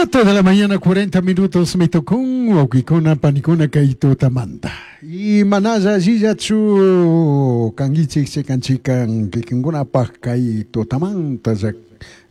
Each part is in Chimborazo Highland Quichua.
7 de la mañana, 40 minutos, me tocó wawkikuna panikuna kay tutamanta. Y manalla allillachu kankichik chikan chikan kikinkunapaj kay tutamanta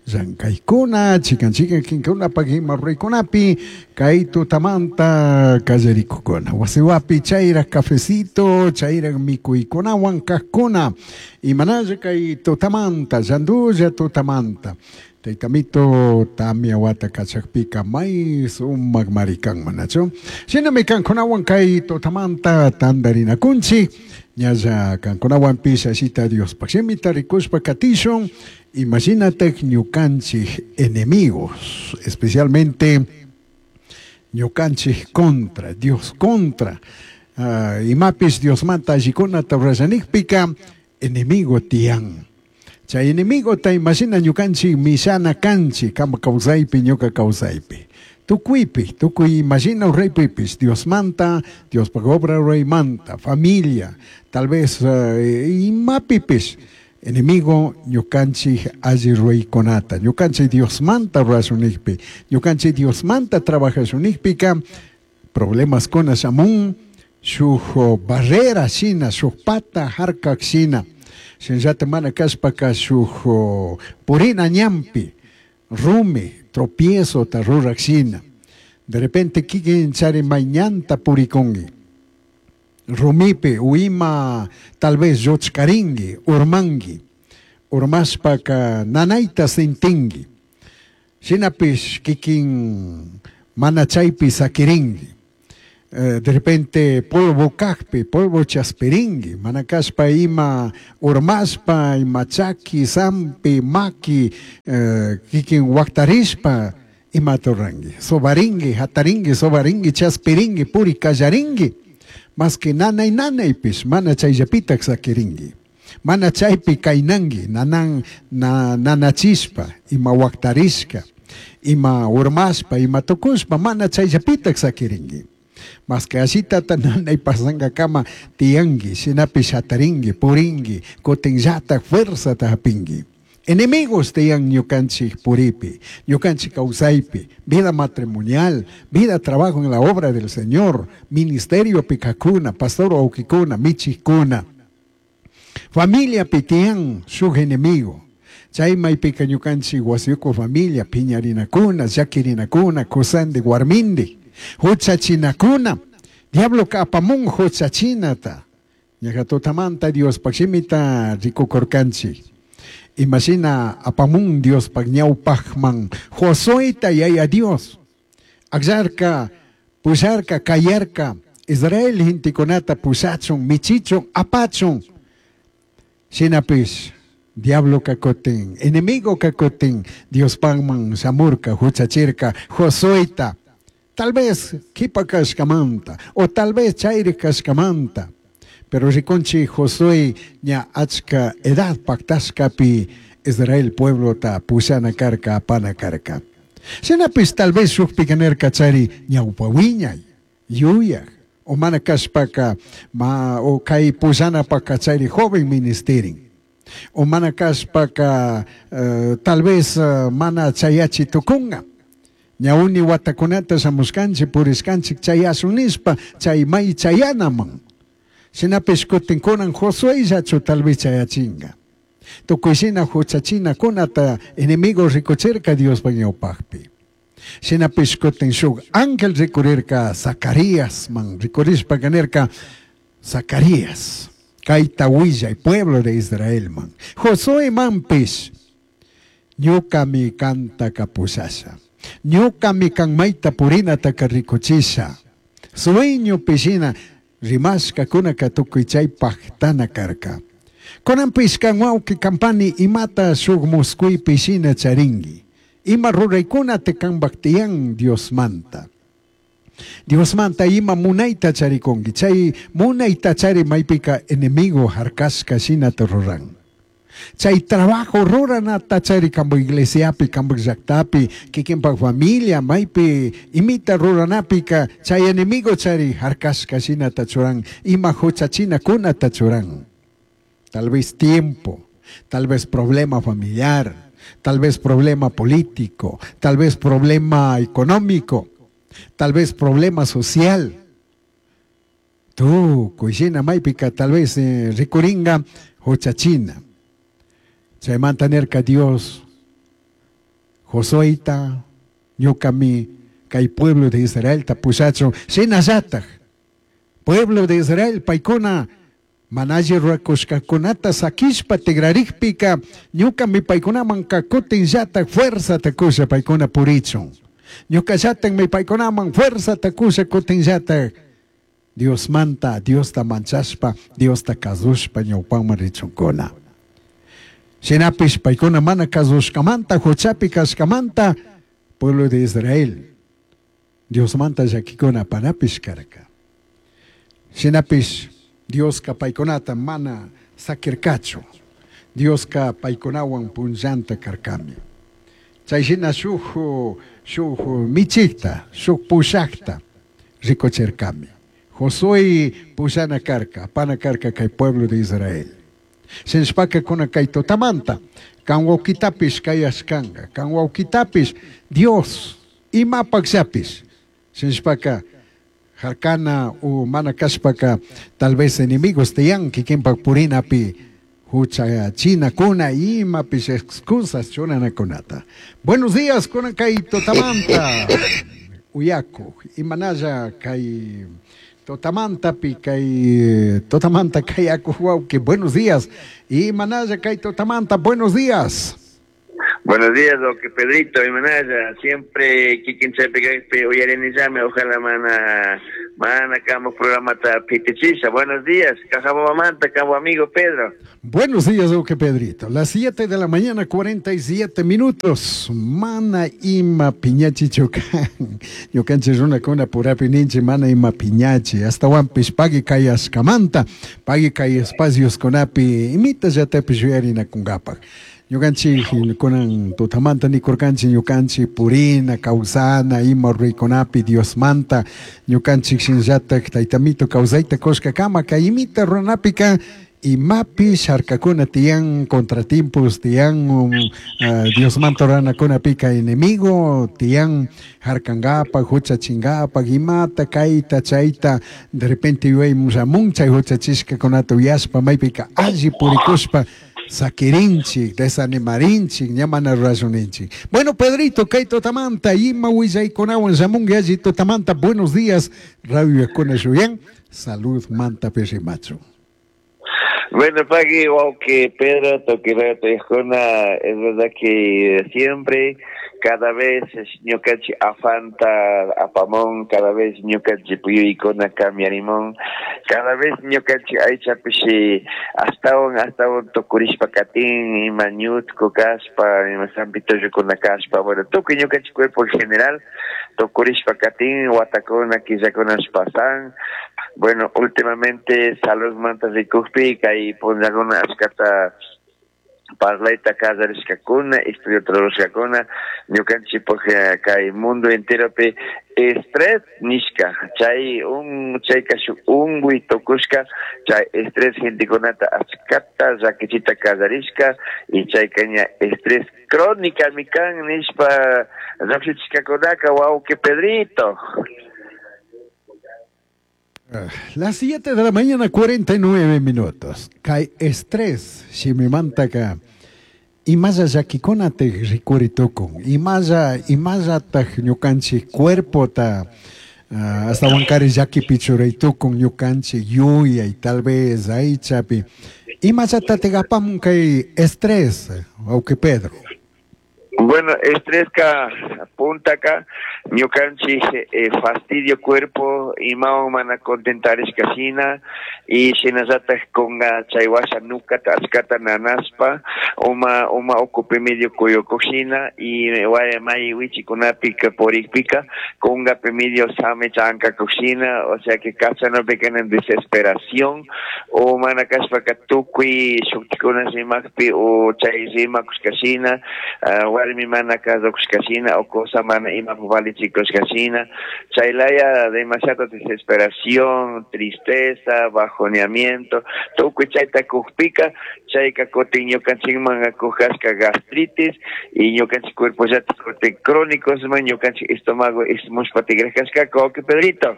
llankaykuna chikan chikan kikinkunapaj ima ruraykunapi kay tutamanta kallarikukuna. Wasiwapi chayraj cafecito, chayraj mikuykunawan kajkuna. Y manalla kay tutamanta, llandulla tutamanta. Taytamito tamya wata kachakpika may sumak marikan manachu. Shinami kankunawan kay tutamanta tantarinakunchik. Ñalla kankunawanpish ashita Diospaj shimita rikushpa katishun. Imagínate ñukanchik enemigos, especialmente ñukanchik contra, Dios contra. Imapis Diosmanta allikunata rurallanikpika enemigo tiyan. Chay enemigo ta imagina ñukanchik mishana kanchik, kama kawsaypi, ñuka kawsaypi. Tukuypi, tukuy imagina ruraypipis, Diosmanta, Diospaj obra ruraymanta, familia, tal vez imapipis, enemigo ñukanchik alli ruraykunata, ñukanchik Diosmanta rurashunikpi, ñukanchik Diosmanta trabajashunikpika, problemas kuna shamun, shuk barrera shina, shuk pata harkak shina. Shinallata mana kashpaka shuk purina ñampi, rumi, tropiezo ta rurak shina. De repente kikin chari may ñanta purikunki. Rumipi, uima, tal vez lluchkarinki, urmanki. Urmashpaka nanayta sintinki. Shinapish kikin mana chaypi sakirinki. De repente polvo kajpi, polvo chaspirinki, mana kashpa ima urmashpa, ima chaki, zampi, maki, kikin waktarishpa, ima turanki. Sobarinki, hatarinki, sobarinki, chaspirinki, puri kallarinki. Más que nanay nanaypish, mana chayllapitak sakirinki. Mana chaypi kaynanki, nanan, na, nanachishpa, ima waktarishka, ima urmashpa, ima tukushpa, mana chayllapitak sakirinki. Más que ashitata nanay pasangakama tiyanki, shinapish hatarinki, purinki, kutinllata fuerzata hapinki. Enemigos tiyan ñukanchik puripi, ñukanchik kawsaypi, vida matrimonial, vida trabajo en la obra del Señor, ministerio pikakuna, pastor wawkikuna, michikuna. Familia pitiyan shuk enemigo. Chay maypika ñukanchik wasiyuku familia, piñarinakuna, llakirinakuna, kusandi warmindi, huchachinakuna. Diablo ka apamun huchachinata. Ñaja tutamanta Diospaj shimita rikukurkanchik. Imagina apamun Diospaj ñawpajman Josueta yaya Dios. Akllarka, pusharka, kayarka, Israel hintikunata pushachun, michichun, apachun. Shinapish, diablo kakutin, enemigo kakutin, Diospajman shamurka, huchachirka, Josueta. Tal vez kipa kashkamanta, o tal vez chayri kashkamanta. Pero rikunchi Josué ña achka edad paktashkapi Israel pueblo ta pushana karka, apana karka. Shinapis tal vez shukpi kanerka chari ñawpa wiñay, yuyaj, o mana kashpaka ma o kay pushana paka chari joven ministerin. O mana kashpaka, tal vez, mana chayachi tukunga. Ñawuni watakunata shamushkanchik, purishkanchik, chayasun nishpa, chay may chayanaman. Shinapish kutin kunan Josué llachu tal vez chayachinga. Tukuy shina huchachina kunata enemigo rikuchirka Diospaj ñawpajpi. Shinapish kutin shuk ángel rikurirka Zacarías man, rikurishpa kanirka Zacarías, kayta willay pueblo de Israel man. Josué manpish, ñukami kanta kapushasha. Ñukami kanmayta purinataka rikuchisha. Sueño pishina rimashka kunaka tukuy chay pajtana karka. Kunanpish kan wawqi kampani imata shuk muskuypi shina charinki. Ima ruraykunata kanpak tiyan Diosmanta. Diosmanta ima munayta charikunki. Chay munayta chari maypika enemigo harkashka shinata ruran. Chay trabajo ruranata chari kampu iglesiapi, kampu llaktapi, kikinpak familia, maypi imita ruranapika, chay enemigo chari harkashka shinata churan, ima huchachina kunata churan. Tal vez tiempo, tal vez problema familiar, Tal vez problema político, tal vez problema económico, tal vez problema social. Tukuy shina maypika tal vez rikuringa huchachina. Chaymanta nirka Dios Josueta ñukami kay pueblo de Israelta pushachun shinallataj pueblo de Israel paykuna mana alli rurakushkakunata sakishpa tigrarikpika ñukami paykunamanka kutinllataj fuerzata kusha paykuna purichun. Ñukallatakmi paykunaman fuerzata kusha kutinllataj Diosmanta Diosta manchashpa Diosta kasushpa ñawpaman richunkuna. Shinapish paykuna mana kasushkamanta huchapi kashkamanta pueblo de Israel Diosmanta llakikuna panapish karka. Shinapish Dioska paykunata mana sakirkachu. Dioska paykunawan punllanta karkami. Chay shina shuk shuk michikta, shuk pushakta rikuchirkami. Josué pushana karka, apana karka kay pueblo de Israel. Shinashpaka kuna kay tutamanta, kan wawkitapish kayashkanka, kan wawkitapish Dios imapakllapish. Shinashpaka harkana o mana kashpaka tal vez enemigos tiyan kikinpak purinapi huchachinakuna imapish excusas churanakunata. Buenos días kuna kay tutamanta uyaku imanalla kay tutamantapi kay tutamanta kayaku wawki. Buenos días imanalla kay tutamanta. Buenos días. Buenos días, doque Pedrito y Manaya. Siempre kikin chaypi uyarinillami, ojalá mana mana kamo programa ta pitichisa. Buenos días, Cajabamanta, cabo amigo Pedro. Buenos días, doque Pedrito. Las 7 de la mañana, 47 minutos. Mana ima piñachi chocan. Ñukanchik runakuna purapi ninchik mana ima piñachi. Astawanpish pagui kayashkamanta, pagui kay espacios kunapi imita llatapish yuyarinakunkapaj. Ñukanchik kunan tutamanta nikurkanchik ñukanchik purina, kawsana, ima ruraykunapi Diosmanta, ñukanchik shinallatak taytamito kawsayta kushkakama kay imita ruranapika imapish harkakuna tiyan, contratiempos tiyan, Diosmanta ruranakunapika enemigo tiyan, harkankapak, huchachinkapak, imata, kayta, chayta, de repente yuyaymun shamun chay huchachishkakunata uyashpa maypika alli purikushpa sakirinchik, desanimarinchik, ña mana rurashuninchik. Bueno, Pedrito, kay tutamanta, ima willaykunawan shamunki alli tutamanta. Buenos días, Radio Yakuna shuyan, salud manta pishimachu. Bueno, pagui, wawki Pedro, toquirato yajuna, es verdad que siempre, cada vez ñukanchik afanta apamón, cada vez ñukanchik puyuykuna cambiarimón, cada vez ñukanchik aychapish astawan astawan tukurishpa katin, ima ñutku kashpa, ima sampitullukuna kashpa, bueno, tukuy ñukanchik cuerpo en general tukurishpa katin, watakuna, killakunash pasan. Bueno, últimamente salud manta rikukpi kay punllakuna ashkata parlayta kallarishkakuna, estudio rurashkakuna, ñukanchikpuk kay mundo enteropi estrés nishka, chay un chayka shuk unkuy tukushka, chay estrés gentekunata ashkata llakichita kallarishka, y chayka ña estrés crónica mikan nishpa llukshishkakunaka, wawki Pedrito. Las 7 de la mañana, 49 minutos. Kay estrés, shimimantaka, imalla llakikunata rikuri tukun, imalla imallataj ñukanchik cuerpota astawankari llakipi churay tukun ñukanchik yuyay, tal vez aychapi. Imallatatik apamun kay estrés, wawqi Pedro. Bueno, estrés ka puntaka ñukanchik fastidio cuerpo imawan mana contentarishka shina y shinallataj kunga chay washa nukata achkata nanashpa uma uma ukupi medio kuyukuk shina y may wichikunapi purikpika kungapi medio sami chankakuk shina, o sea que kachanopika en desesperación o mana kashpaka tukuy shuktikuna rimakpi o chay rimakushka shina, Warmi mana kasukushkashina o cosa mana imapaq valichikushkashina, chaylaya demasiado desesperación, tristeza, bajoneamiento, tukuy chayta kukpika, chayka kutin ñukanchikman kujashka gastritis y ñukanchik cuerpo llatik kutin crónicos man ñukanchik estómago ismushpa tigrashkashka, wawqi Pedrito.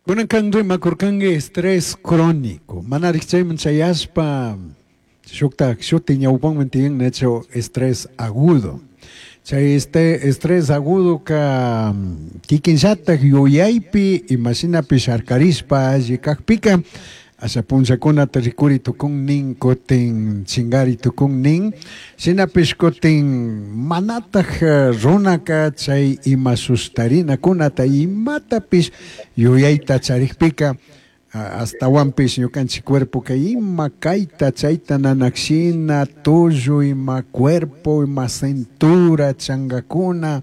Kunan kan rimakurkanki estrés crónico. Manarik chayman chayashpa shuktak shuti ñawpanman tiyan hecho estrés agudo. Chay este estrés agudo ka kikinllatak yuyaypi imashinapish harkarishpa alli kakpika asha punllakunata rikuri tukun nin, kutin chingari tukun nin, shinapish kutin manataj runaka chay ima sustarinakunata imatapish yuyayta charikpika astawanpish ñukanchik cuerpoka ima kayta chayta nanakshina tullu, ima cuerpo, ima cintura changakuna,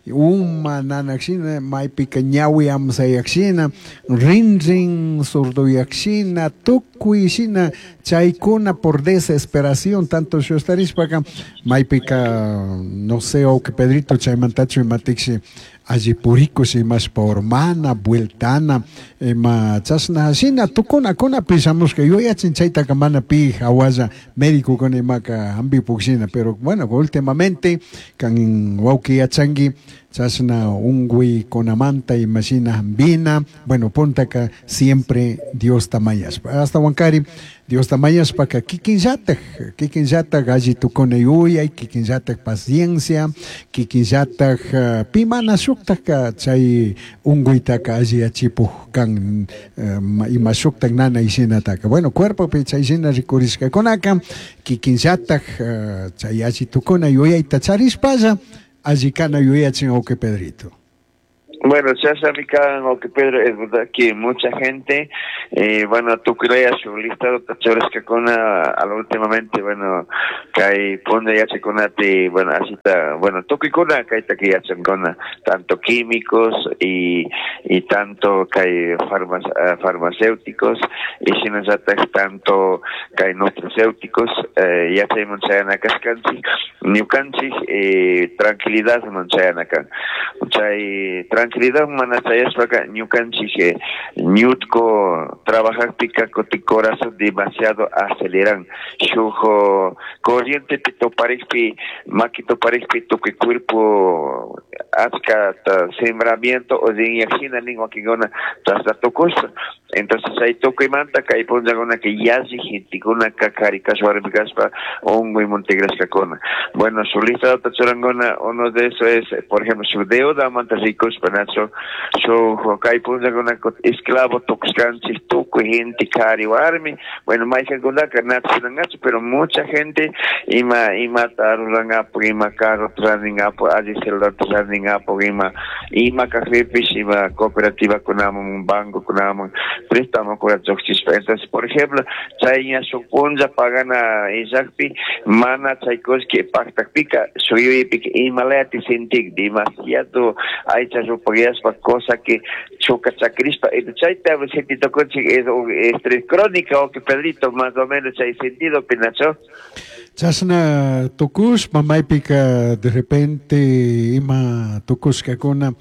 uma nanakshina, maypika ñawi amsayakshina, rinrin surduyakshina, tukuy shina chaykuna por desesperación tanto shustarishpaka maypika no sé, wawqi Pedrito, chaymantachu imatikshi alli purikush imashpa urmana, vueltana, ima chashna shina tukunakunapi shamushka yuyachin chaytaka mana pi hawalla médicokuna imaka hampipuk shina, pero bueno, últimamente kan wawqi yachanki chashna unkuykunamanta imashina hampina, bueno, puntaka siempre Diosta mañashpa, ashtawankari Diosta mañashpaka kikinllatak, kikinllatak alli tukuna yuyay, kikinllatak paciencia, kikinllatak pi mana shuktaka chay unkuytaka alliyachipuk kan ima shuktak nanay shinataka. Bueno, cuerpopi chay shina rikurishkakunaka kikinllatak chay alli tukuna yuyayta charishpalla alli kana yuyachin, wawqi Pedrito. Bueno, chashami kan, wawqi Pedro, es verdad que mucha gente, bueno, tukuylaya shuk listado churashkakuna al últimamente, bueno, kay punlla yachakunati, bueno, asita, bueno, tukuykuna kaytaka yachankuna, tanto químicos y tanto kay farmacéuticos, y shinallatak tanto kay nutracéuticos, yachayman chayana kashkanchik, ñukanchik, tranquilidadman chayana kan. Chay tranquilidad mana chayashpaka ñukanchik, ñutko trabajakpika kutin corazón demasiado aceleran, shuk corriente toparikpi, maki toparikpi tukuy cuerpo achka sembramiento o rinyakshina nin wakinkuna chashna tukushpa. Entonces chay tukuymanta kay punllakuna que yalli gentekunaka kari kashpa warmi kashpa unkuymun tigrashkakuna. Bueno, su listadota churankuna, uno de eso es, por ejemplo, su deudamanta rikushpa, nacho, shuk kay punllakuna esclavo tukushkanchik tukuy gente kari warmi, bueno, maykankunaka nacho, pero mucha gente ima imata rurangapak, ima carro rantingapak, alli celular rantingapak, ima ima kajpipish, ima cooperativa kunaman, banco kunaman, préstamo llukshishpa. Entonces, por ejemplo, chay ña shuk punlla pagana illakpi, mana chay kullki paktakpika, shuk yuyaypika imalayati sentik, demasiado aycha rupayashpa, cosa que chuka chakrishpa, chayta sentitokunchik es un estrés crónico, wawqi Pedrito, más o menos chay sentido, pinacho. Chashna tukushpa maypika de repente ima tukushkakuna,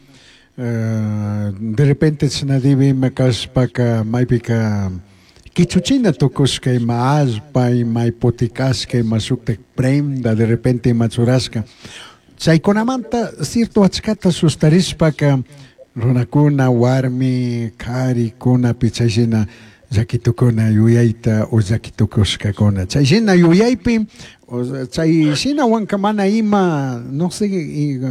de repente chashna dibi ima kashpaka maypika kichuchina tukushka ima allpa, ima hipotekashka, ima shuktak prenda, de repente ima churashka. Chaykunamanta cierto achkata sustarishpaka runakuna, warmi, karikuna chayshina llakitukuna yuyayta o llakitukushkakuna. Chayshina yuyaypi, o sea, chayshina wanka mana ima, no sé,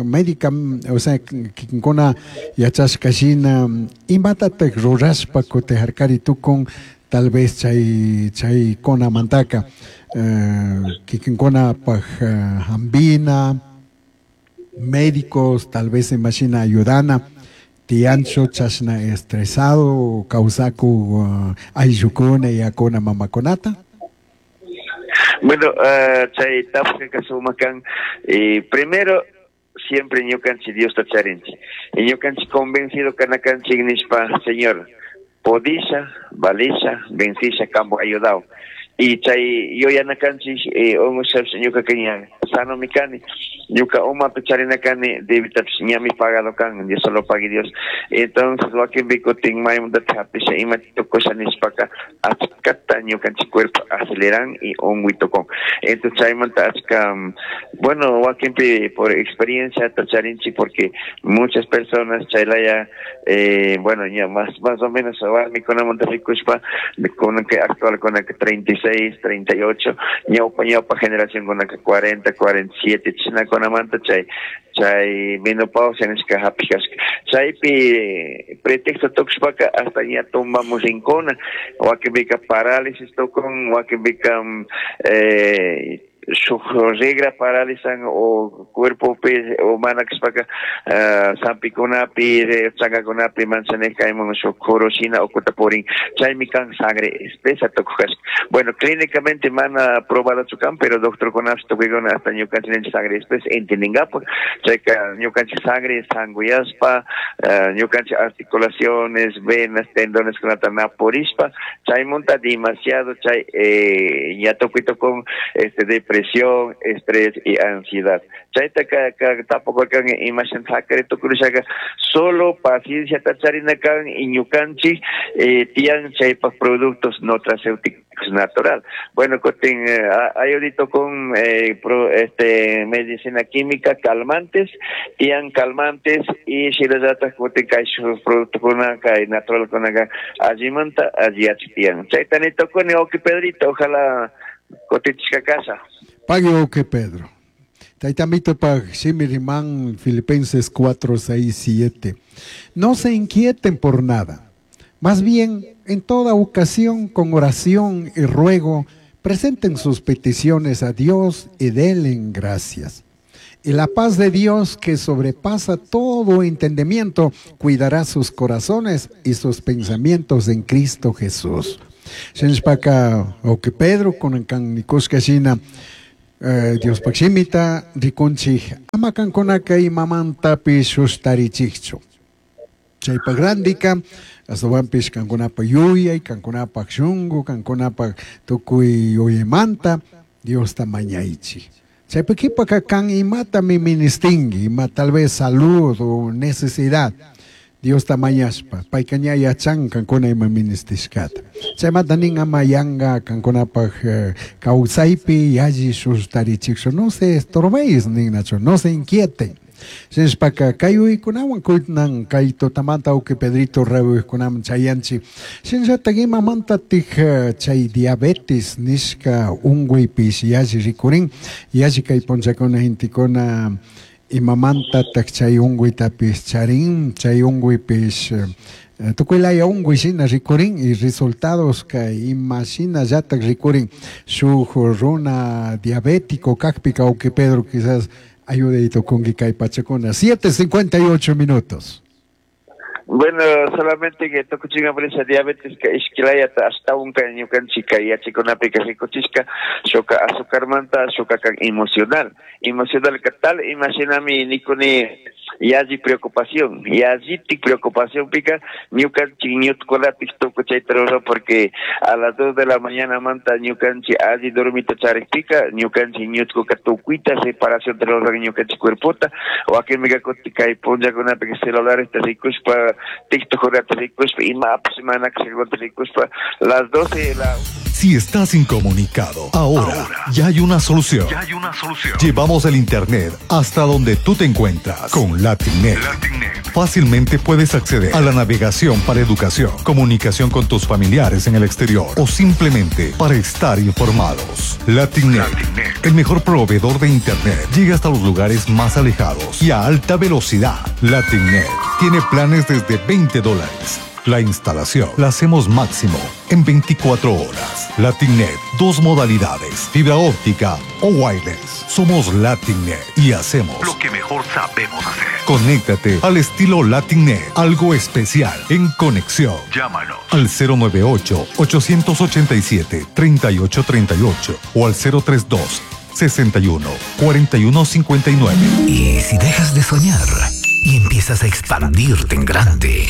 médica, o sea, kikinkuna yachashka shina, imatatak rurashpa kutin harkari tukun, tal vez chay chaykunamantaka kikinkunapaj hampina, médicos tal vez imashina ayudana, tiyanchu chashna estresado kawsaku ayllukuna yakuna mamakunata. Bueno, chay tapushka sumak kan, primero siempre ñukanchik Diosta charinchik, y ñukanchik convencido kanakanchik nishpa, Señor, podisha, valisha, vencisha, kambo ayudao. Y chay yuyanakanchik, ungushapsh ñuka ña Sano mi kani. Ñuka umapi charina kani debitapish ñami pagado kan, Dios solo pagui Dios. Entonces wakinpi kutin maymantata hapisha ima tukusha nishpaka achkata ñukanchik cuerpo aceleran y unguy tukun. Entonces chaymanta achka, bueno, wakinpi por experiencia charinchik porque muchas personas chaylaya, bueno, ya más o menos warmikunamanta rikushpa kunanka actual kunanka 36, 38, ñawpa generación kunanka 40, 47, chishnakunamanta chay menopausia nishka hapishkashka. Chaypi pretexto tukushpaka hasta ña tumbamos rinkuna, wakinpika parálisis tukun, wakinpika shuk regra paralizan o cuerpopi o mana kashpaka sampikunapi, chankakunapi manchanej kayman shuk joroshina ukuta purin, chaymi kan sangre espesa tukukashka. Bueno, clínicamente mana probadachu kan, pero doctorkunapish tukuykuna hasta ñukanchik sangre espesa entendingapak, chayka ñukanchik sangre sanguyaspa, ñukanchik articulaciones, venas, tendones kunata na purishpa, chaymunta demasiado chay ña tukuy tukun depresión, estrés y ansiedad. Chayta ka tampoco kan imashan sakare tukurishaka, solo paciencia tacharina kan y ñukanchik tian chaypak productos nutracéuticos natural. Bueno, kutin ayudito con medicina química, calmantes, tian calmantes y shirayata kutin kay producto kuna kay natural kuna ka allimanta alliachi tian. Chayta ni tokuni oki Pedrito, ojalá kotichka casa. Pague oke Pedro. Taitamito pag shimirimán Filipenses 4, 6, 7. No se inquieten por nada. Más bien, en toda ocasión, con oración y ruego, presenten sus peticiones a Dios y denle gracias. Y la paz de Dios, que sobrepasa todo entendimiento, cuidará sus corazones y sus pensamientos en Cristo Jesús. Shenshpaka oke Pedro con kan nikushka shina Dios pakshimita rikunchik ama kankunaka imamantapish sustarichikchu. Chaypa grandika astawanpish kankunapa yuyay, kankunapa shunku, kankunapa tukuy yuyaymanta Diosta mañaychik. Chaypa qhipaka kan imatami ministinki, ima tal vez salud o necesidad. Diosta mañashpa, payka ña yachan kankuna ima ministishkata. Chaymanta nin ama yanka kankunapaj kawsaypi yalli sustarichikchu, no se estorbéis ninnachu, no se inquieten. Shinashpaka kay uykunawan kunan kay tutamanta uki Pedrito rayuykunaman chayanchik. Shinallatak imamantatik chay diabetes nishka unkuypish yalli rikurin, yalli kay punllakuna gentekuna imamantatak chay unkuytapish charin, chay unkuypish tukuy laya unkuy shina rikurin y resultados kay ima shinallatak rikurin shuk runa diabético kakpika uki Pedro quizás ayude tukunki kay pachakuna. 7:58 minutos. Bueno, solamente que tukuchinga por esa diabetes que ishkilayata hasta un ka ñukanchik kay yachakunapika rikuchishka shuka azucarmanta shuka kan emocional. Emocional ka tal imaginami nikuni yalli preocupación, yallitik preocupación pica ñukanchik ñutkulapik tukuy chayta ruran porque a las 2 de la mañana manta ñukanchik alli dormita charikpika ñukanchik ñutkuka tukuyta separación te ruran ñukanchik cuerpota wakinpika kutin kay punllakunapika celulares rikushpa TikTok rikushpa imapish mana kashkata rikushpa las 12 de la... Si estás incomunicado, ahora ya hay una solución. Ya hay una solución. Llevamos el internet hasta donde tú te encuentras con LatinNet. LatinNet. Fácilmente puedes acceder a la navegación para educación, comunicación con tus familiares en el exterior o simplemente para estar informados. LatinNet, LatinNet. el mejor proveedor de internet, llega hasta los lugares más alejados y a alta velocidad. LatinNet tiene planes desde $20. La instalación la hacemos máximo en 24 horas. LatinNet, 2 modalidades, fibra óptica o wireless. Somos LatinNet y hacemos lo que mejor sabemos hacer. Conéctate al estilo LatinNet, algo especial en conexión. Llámanos al 098-887-3838 o al 032 61 41 59. Y si dejas de soñar y empiezas a expandirte en grande,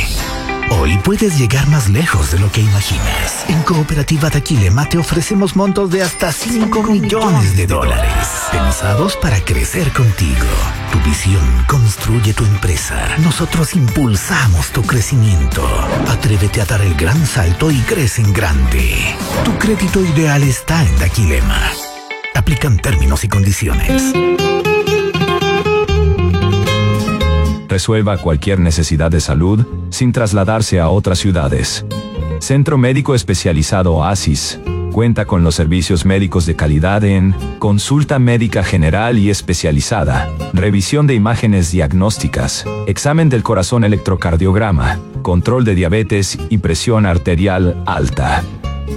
Hoy puedes llegar más lejos de lo que imaginas. En Cooperativa Daquilema te ofrecemos montos de hasta 5 millones de dólares, pensados para crecer contigo. Tu visión construye tu empresa. Nosotros impulsamos tu crecimiento. Atrévete a dar el gran salto y crece en grande. Tu crédito ideal está en Daquilema. Aplican términos y condiciones. Resuelva cualquier necesidad de salud sin trasladarse a otras ciudades. Centro Médico Especializado Oasis cuenta con los servicios médicos de calidad en consulta médica general y especializada, revisión de imágenes diagnósticas, examen del corazón electrocardiograma, control de diabetes y presión arterial alta,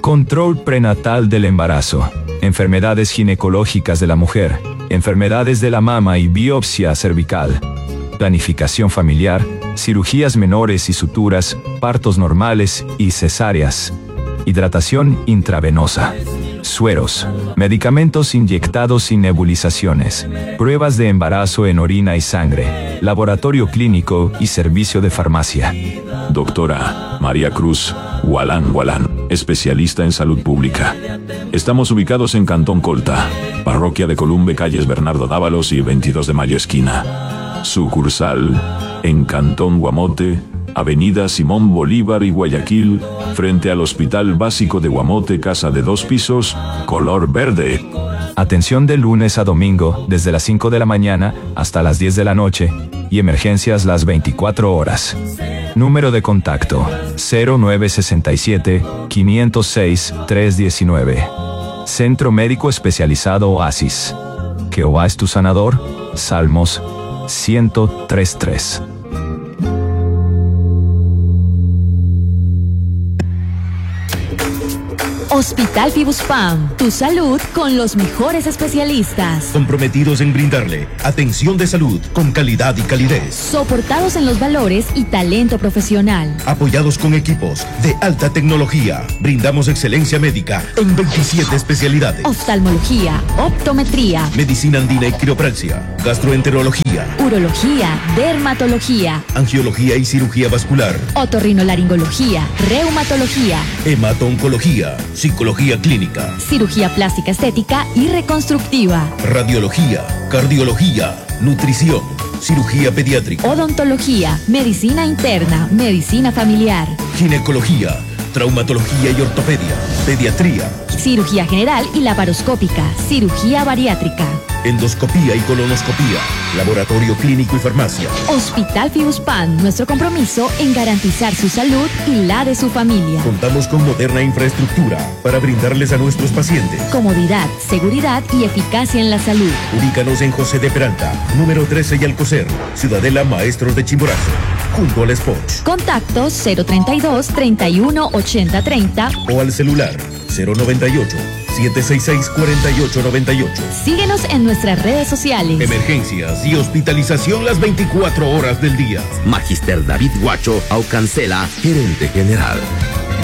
control prenatal del embarazo, enfermedades ginecológicas de la mujer, enfermedades de la mama y biopsia cervical, planificación familiar, cirugías menores y suturas, partos normales y cesáreas, hidratación intravenosa, sueros, medicamentos inyectados y nebulizaciones, pruebas de embarazo en orina y sangre, laboratorio clínico y servicio de farmacia. Doctora María Cruz Gualán Gualán, especialista en salud pública. Estamos ubicados en Cantón Colta, parroquia de Columbe, calles Bernardo Dávalos y 22 de Mayo esquina. Sucursal en Cantón Guamote, Avenida Simón Bolívar y Guayaquil, frente al Hospital Básico de Guamote, casa de 2 pisos, color verde. Atención de lunes a domingo, desde las 5 de la mañana hasta las 10 de la noche, y emergencias las 24 horas. Número de contacto, 0967 506 319. Centro Médico Especializado Oasis. Jehová es tu sanador. Salmos 103.3. Hospital Fibuspam, tu salud con los mejores especialistas. Comprometidos en brindarle atención de salud con calidad y calidez. Soportados en los valores y talento profesional. Apoyados con equipos de alta tecnología. Brindamos excelencia médica en 27 especialidades. Oftalmología, optometría, medicina andina y quiropraxia, gastroenterología, urología, dermatología, angiología y cirugía vascular, otorrinolaringología, reumatología, hemato-oncología, psicología clínica, cirugía plástica estética y reconstructiva, radiología, cardiología, nutrición, cirugía pediátrica, odontología, medicina interna, medicina familiar, ginecología, traumatología y ortopedia, pediatría, cirugía general y laparoscópica, cirugía bariátrica, endoscopía y colonoscopía, laboratorio clínico y farmacia. Hospital Fibuspam, nuestro compromiso en garantizar su salud y la de su familia. Contamos con moderna infraestructura para brindarles a nuestros pacientes comodidad, seguridad y eficacia en la salud. Ubícanos en José de Peralta, número 13 y Alcocer, Ciudadela Maestros de Chimborazo, junto al Spot. Contacto 032 31 80 30 o al celular 098 766 4898. Síguenos en nuestras redes sociales. Emergencias y hospitalización las 24 horas del día. Magister David Guacho Aucancela, gerente general.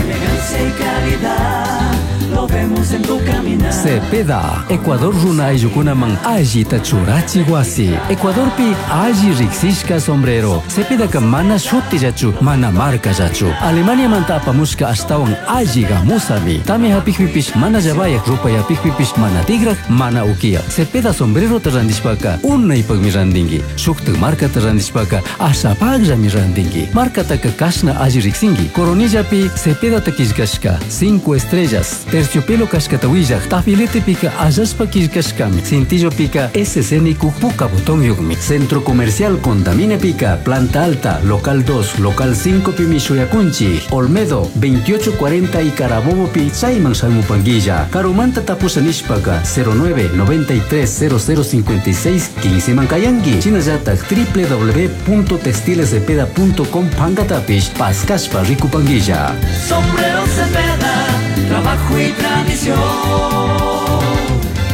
Elegancia y calidad, lo vemos en tu caminar. Cepeda, Ecuador runa ayllukunaman allita churachi wasi. Ecuadorpi alli riqsishka sombrero. Cepedaka mana shutillachu, mana markallachu. Alemaniamanta apamushka ashtawan alli gamusami. Tami hapikpipish mana llavayak, rupayapikpipish mana tigrak, mana ukiya. Cepeda sombrerota randishpaka unaypakmi randinki. Shuktak markata randishpaka ashapakllami randinki. Markataka kashna alli riqsinki. Coronillapi Cepedata killkashka 5 estrellas. Terciopelo kashkata willaq, tafiletepika allashpa killkashkami, cintillopika SC puka botón yukmi. Centro Comercial Contamine Pica, Planta Alta, Local 2, Local 5 pimi shuyakunchi, Olmedo 2840 y Carabobo pi chayman shamupanguilla. Karumanta tapusha nishpaka 09 93 0056 15 mankayanki. Chinallatak www.textilescepeda.com pankatapish paskashpa rikupanguilla. Sombrero Cepeda, trabajo y tradición.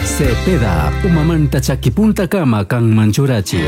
Cepeda, umamanta chakipunta kama kan manchurachi.